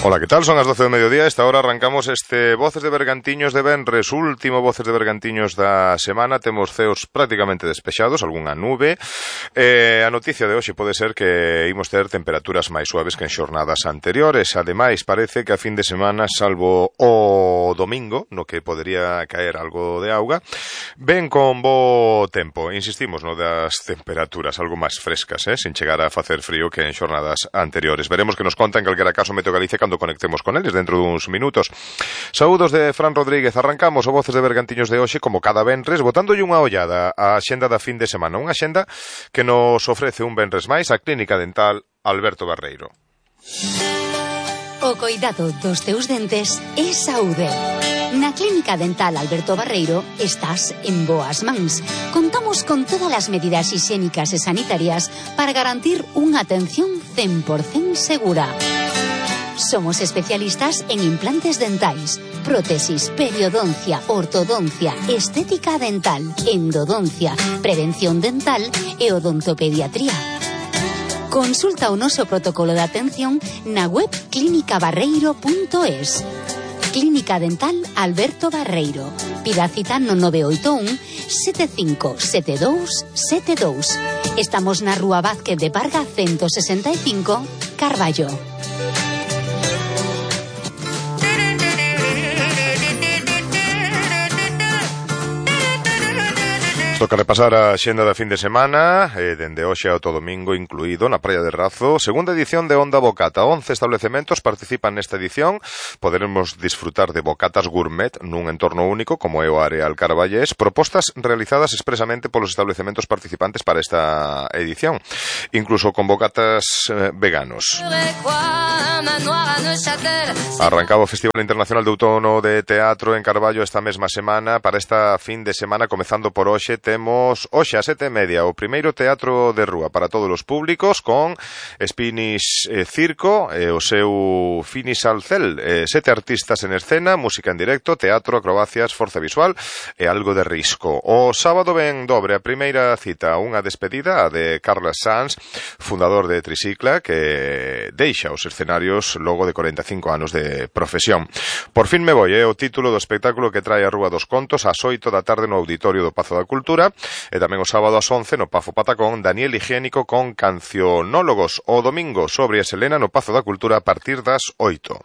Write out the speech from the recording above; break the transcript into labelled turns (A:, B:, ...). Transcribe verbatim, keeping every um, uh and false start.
A: Ola, que tal? Son as doce do mediodía. Esta hora arrancamos este Voces de Bergantiños de venres, último Voces de Bergantiños da semana. Temos ceos prácticamente despexados, algunha nube. Eh, a noticia de hoxe pode ser que imos ter temperaturas máis suaves que en xornadas anteriores. Ademais, parece que a fin de semana, salvo o domingo, no que podería caer algo de auga, ven con bo tempo. Insistimos no das temperaturas algo máis frescas, eh? Sin chegar a facer frío que en xornadas anteriores. Veremos que nos conta en calquera caso Meteo Galicia cando conectemos con eles dentro duns minutos. Saúdos de Fran Rodríguez. Arrancamos o Voces de Bergantiños de hoxe como cada venres, botándolle unha ollada á xenda da fin de semana, unha xenda que nos ofrece un venres máis a Clínica Dental Alberto Barreiro.
B: O coidado dos teus dentes é saúde. Na Clínica Dental Alberto Barreiro estás en boas mans. Contamos con todas as medidas higiénicas e sanitarias para garantir unha atención cen por cento segura. Somos especialistas en implantes dentais, prótesis, periodoncia, ortodoncia, estética dental, endodoncia, prevención dental e odontopediatría. Consulta o noso protocolo de atención na web clínica barreiro punto es. Clínica Dental Alberto Barreiro. Pida cita no nove oito un, sete cinco sete dous sete dous. Estamos na Rúa Vázquez de Parga ciento sesenta e cinco, Carballo.
A: Toca repasar a xenda da fin de semana, eh, dende hoxe ao todo domingo incluído na Praia de Razo. Segunda edición de Onda Bocata. once establecementos participan nesta edición. Poderemos disfrutar de bocatas gourmet nun entorno único como é o Areal Carballés, propostas realizadas expresamente polos establecementos participantes para esta edición, incluso con bocatas eh, veganos. Arrancaba o Festival Internacional de Outono de Teatro en Carballo esta mesma semana. Para esta fin de semana, comezando por hoxe, temos hoxe a sete e media o primeiro teatro de rúa para todos os públicos con Spinis eh, Circo e o seu Finis Alcel, eh, sete artistas en escena, música en directo, teatro, acrobacias, forza visual e algo de risco. O sábado ven dobre a primeira cita, unha despedida a de Carlos Sanz, fundador de Tricicla, que deixa os escenarios logo de corenta e cinco anos de profesión. Por fin me voi, é eh, o título do espectáculo que trae a Rúa dos Contos ás oito da tarde no Auditorio do Pazo da Cultura. E tamén o sábado ás once no Pafo Patacón, Daniel Higiénico con Cancionólogos. O domingo sobre a Selena no Pazo da Cultura a partir das oito.